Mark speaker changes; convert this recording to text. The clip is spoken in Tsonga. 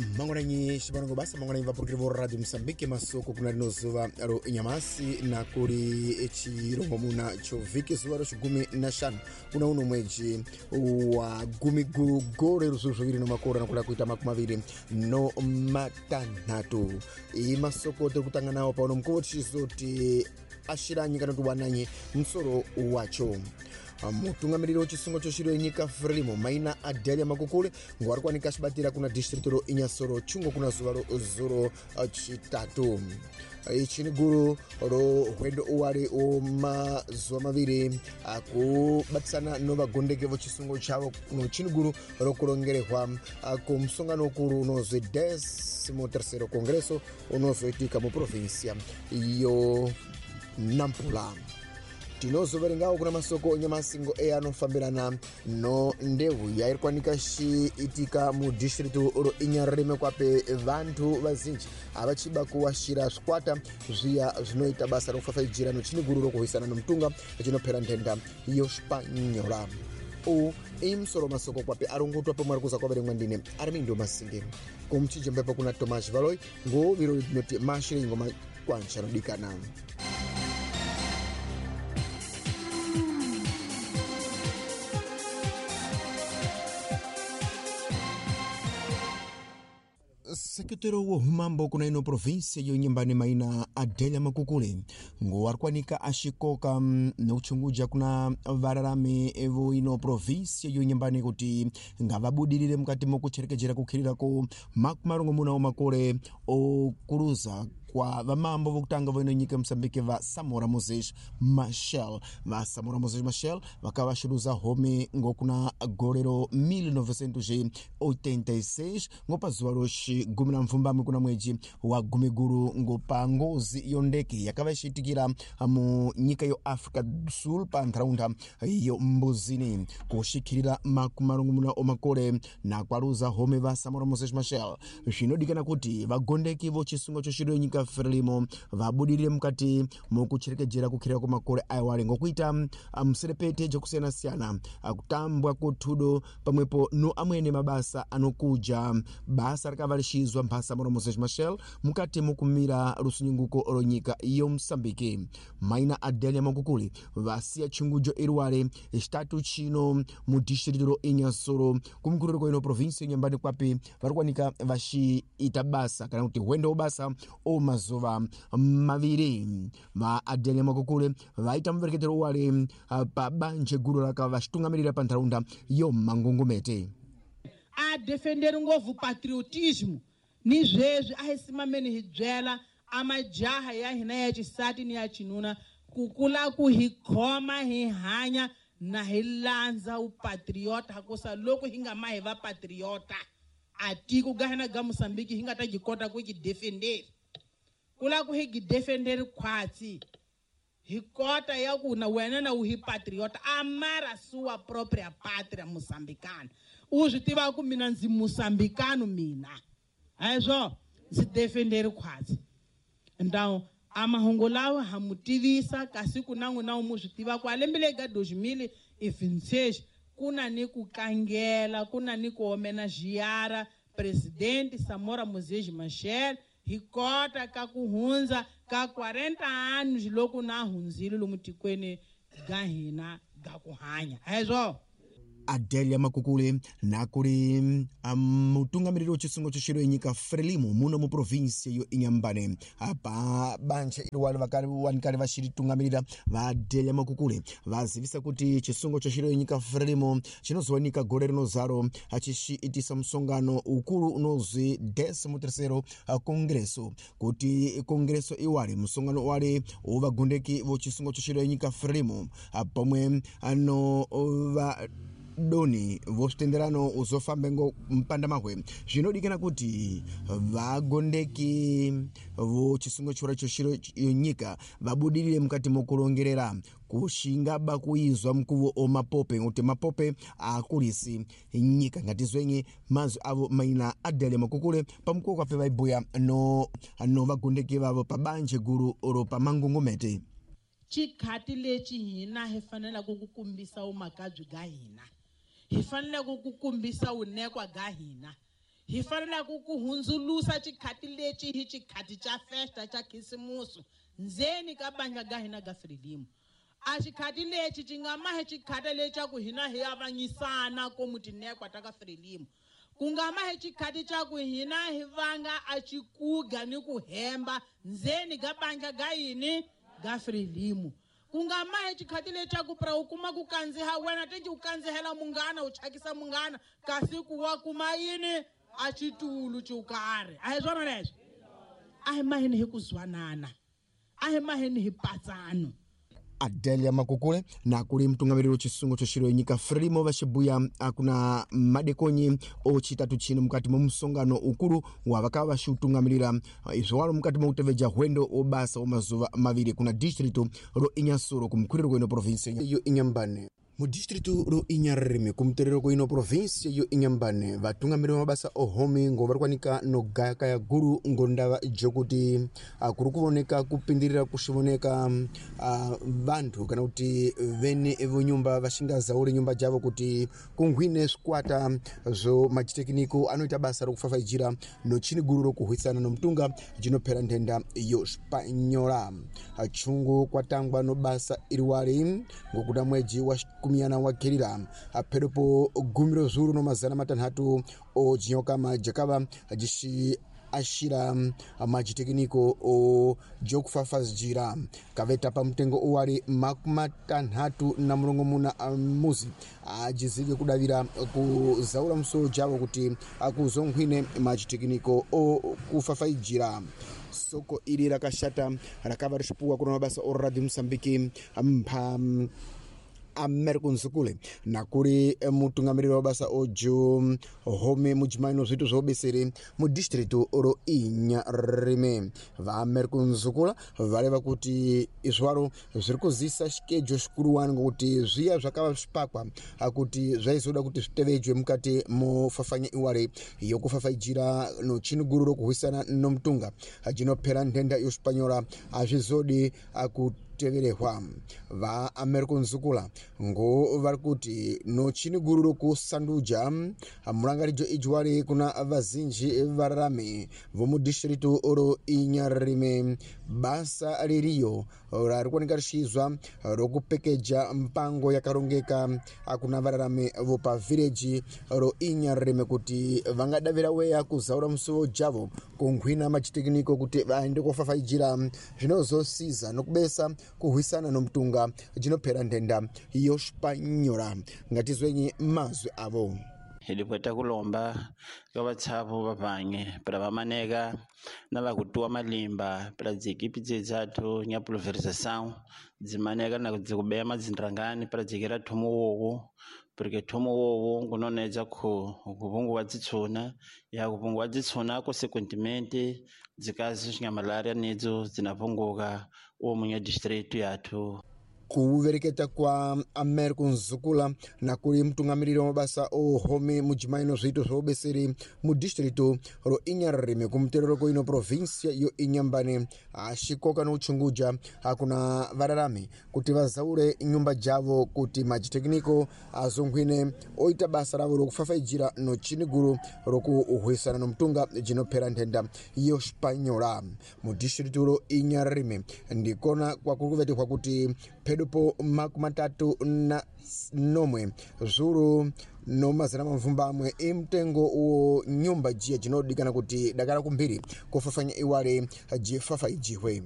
Speaker 1: Mangwananyi xivanongo basa mangwananyi vapurukiri vo Radio Mosambike masoko kuna rino zuva ro nyamasi na kuri chirongomuna chovhiki zuva ro chigumi na shanu kuna uno mweji wa gumi guru gore ruzuru zviviri no makore nakuda kuita makumi maviri no matanhatu. Iyi masoko tiri kutanga nawo pauno mukuwo tichizoti ashiranyi kana kuti wananyi musoro wacho. Mutungamiriri wechisungo choshiro yenyika Frelimo maina Adelia Makukule ngo ari kuwanika achibatira kuna distrito ro Inhassoro chungo kuna zuva ro zuro chitatu. Ichi ni guru ro hwendo uwari mazuva maviri akubatisana no vagondeke vochisungo chavo no chini guru ro kurongerehwa kumusongano ukuru unozwi 13º Congresso unozoitika muprovinsia yo Nampula. Tinozoverengawo kuna masoko nyamasingo eya anofambirana no ndeu yairi kuwanika chiitika mudistritu ro Inharime kwape vantu vazinji avachiba kuwashira zvikwata zviya zvinoita basa rokufafaidzira nochini guru rokuhwisana nomutunga chinopera nhenda yoshpanyola. U imusoro masoko kwape arongotwa pamwe ari kuza kwaverengwa ndine Armindo Masinge kumuchijembepo kuna Tomas Valoi ngo viro tinoti mashire ingoma kwancha anodikana. Sekretero wa humambo kuna ino provinsia yonyembane maina Adelia Makukule ngo ari kuwanika ashikoka nokuchunguja kuna vararami vo ino provinsia yonyembane kuti ngavabudirire mukati mokucherekejera kukhirira ko makumi marongomuna omakore okuruza kwa vamambo vokutanga voino nyika Mosambike va Samora Moses Machel. Va Samora Moses Machel vakava vaxiluza home ngokuna gore ro 1986 ngopa zuva roxi gumi na mfumbamwe kuna mweji wa gumi guru ngopa ngozi yo ndeke yakava ixiitikira mu nyika yo Africa do Sul pa ntharaunda yo Mbuzini kuxikhirira makumi marongomuna omakore na kwaluza home va Samora Moses Machel. Zvinodikana kuti vagondeki vo chisungo choxiro nyika Frelimo vabudirire mukati mokucherekejera kukhirira kwamakore aiwale ngokuita muserepete jokusiyana-siyana kutambwa kothudo pamwepo no amwene mabasa anokuja basa rakava lixizwa mphasa Samora Moses Machel mukati mokumira rusununguko ro nyika yo Mosambike. Maina Adelia Makukule vasiya chungujo iriwale chitatu chino mu distrito ro Inhassoro kumkuriro ino provinsia nyambani kwapi vari kuwanika vaxiita basa kana kuti hwendo basa o mazuva maviri. Va Adelia Makukule vaita muvereketero wale pa banje guru raka vaxitungamirira pa ntharaunda yo Mangongomete.
Speaker 2: A defender ngopfu patriotismo ni sweswi a hi simameni hi byela a majaha ya hina ya xisati ni ya xinuna ku kula ku hi khoma hi hanya na hi landza upatriota hakusa loko hi nga ma hi va patriota a tiko ga hina ga Mosambiki hi nga ta kota ku ki defender kula ku hi ki defender khwatsi hi kota ya ku na wena na u hi patriota amara sua própria pátria moçambicana u swi tiva ku mina ndzi moçambicano mina haiswo ndzi defender khwatsi. Então a mahungu lawa ha mu tivisa kasi ku na n'wina mu swi tiva ku a lembe leyi ka 2026 ku na ni ku kangela ku na ni ku homenageara presidente Samora Moses Machel hi kota ka ku hundza ka 40 anos loko na hundzile lomu tikweni ga hina ga ku hanya haiswo.
Speaker 1: Adelia Makukule nakuri mutungamiriri wechisungo choshiro yenyika Frelimo muno muprovinsia yo Inhambane apa banje iriwale vakawanikari vachiritungamirira va Adelia Makukule vazivisa kuti chisungo choshiro yenyika Frelimo chinozowanika gore rinozaro achichiitisa musongano ukuru unozwi 13º Congresso kuti Congresso iwale musongano wale wovagondeki vochisungo choshiro yenyika Frelimo pamwe ano va doni vosvitenderano uzofambe ngo mpanda mahwe. Zvinodikana kuti vagondeki vochisungo chora choshiro yonyika vabudirire mukati mokurongerera kushingaba kuizwa mukuvo omapope kuti mapope akulisi nyika. Ngatizwenyi mazwi avo maina Adelia Makukule pamukuwo kwape vaibhuya no vagondeki vavo pabanje guru ro pamangongomete.
Speaker 2: Xikhati lexi hina hi faneleke ku kombisa vumakabyi bya hina hi faneleke ku kombisa vunekwa bya hina Hi fanelaka ku hundzulusa xikhati lexi hi xikhati xa festa xa khisimusi ndzeni ka bandla ga hina ga Frelimo. A xikhati lexi xi nga mahi xikhati lexa ku hina hi avanyisana komu tinekwa ta ka Frelimo. Ku nga mahi xikhati xa ku hina hi vanga a xikuga ni ku hemba ndzeni ga bandla ga yini ga Frelimo. Ku nga mahi xikhati lexaku pra u kuma ku kandziha wena tenji u kandzihela munghana u chakisa munghana kasi ku wa kuma yini a xitulu xo karhi. A hi swona leswo? A hi maheni hi ku zwanana, a hi maheni hi patsano.
Speaker 1: Adelia Makukule na kuli mtungamiriri wa chisungo choxiro nyika Frelimo vaxibuya akuna madekonyi ochitatu chino mukati mwa musongano ukulu wa vakava vaxiutungamirira izvo mukati mwa kuteveja hwendo obasa wa mazuva maviri kuna district ro Inhassoro kumkhwiriro kwino province yo Inhambane. Mu district ro Inharrime kumuterero kwino province yo Inhambane vatungamiriri va mabasa ohomi ngo vari kwanika no gayakaya guru ngo ndava jokuti kuri kuvoneka kupindirira kuxivoneka vanthu kana kuti vene vonyumba vaxingazauri nyumba javo kuti kunghwine swikwata zvo machitekniko anoita basa rokufafaidzira nochini guru rokuhwisana nomutunga jinophera nthenda yo spanyola. Chungu kwatangwa no basa iriwari ngokuda mweji wa kumiyana wakhirira phedopo gumi zuru no 600 ojinyokama jakava jixi axira machitekniko o jokufafazijira kaveta pa mtengo uwali 66 muzi ajizike kudavira kuzaula msolo javo kuti akuzonkhwine machitekniko o kufafaijira. Soko ili rakashata rakava rixipuwa kuna mabasa o Radio Mosambiki mpha Americo Nzukule na kuri mutungamiriri wa basa ojo home mujimaino zvitu zvaobesere mu district ro Inharrime. Va Americo Nzukula vareva kuti izvaro zviri kuzisa xikejo xikuruwani ngokuti zviya zvakava zvipakwa kuti zvaizoda kuti zvitevejwe mukati mofafanya iware yokufafaijira nochiniguru rokuhwisana nomutunga jinophera nthenda yoxipanyora azvizodi kuteverehwa. Va Americo Nzukula ngo vari kuti nochini guru rokusanduja mulangaridzo ijwari kuna vazinji vararami vomudistritu ro Inharrime. Basa ririyo rari kuoneka rixizwa rokupekeja mpango yakarongeka kuna vararami vopa vhireji ro Inharrime kuti vangadavira weya kuzaura musuwo javo kunghwina machitekniko kuti vaende kofafaijira zvinozosiza nokubesa kuhwisana nomutunga jinophera nthenda yoxipanyora. Ngatizwenyi mazwi avo.
Speaker 3: Hilipweta kulomba ka vatshavu vavange pra vamaneka na vakutuwa malimba pra dzikipi dzedzathu nya pulverização dzimaneka na dzikubeya madzindrangani pra dzikira thomo wowo porque thomo wowo ngunonedza khu kuvunguwa dzitshuna ya kuvunguwa dzitshuna consequentemente dzikazi nya malaria nedzo dzinapunguka omu nya distrito yathu.
Speaker 1: Kuvereketa kwa Americo Nzukula na kuri mutungamiriri wa mabasa ohome mujimaino zviito zvaobeseri mu distrito ro Inharrime kumuterero koino provinsia yo Inhambane axikoka nokuchunguja akuna vararami kuti vazaure nyumba javo kuti machitekniko azonghwine oita basa ravo rokufafaijira nochini guru rokuhwisana nomutunga jinophera nthenda yoxipanyora. Mu distrito ro Inharrime ndikona kwakuri kuvetehwa kuti phedo po 37 zuru no 800 imtengo uwo nyumba jiya jinodikana kuti dakala kumbiri kufafanya iwale jifafaijiwe.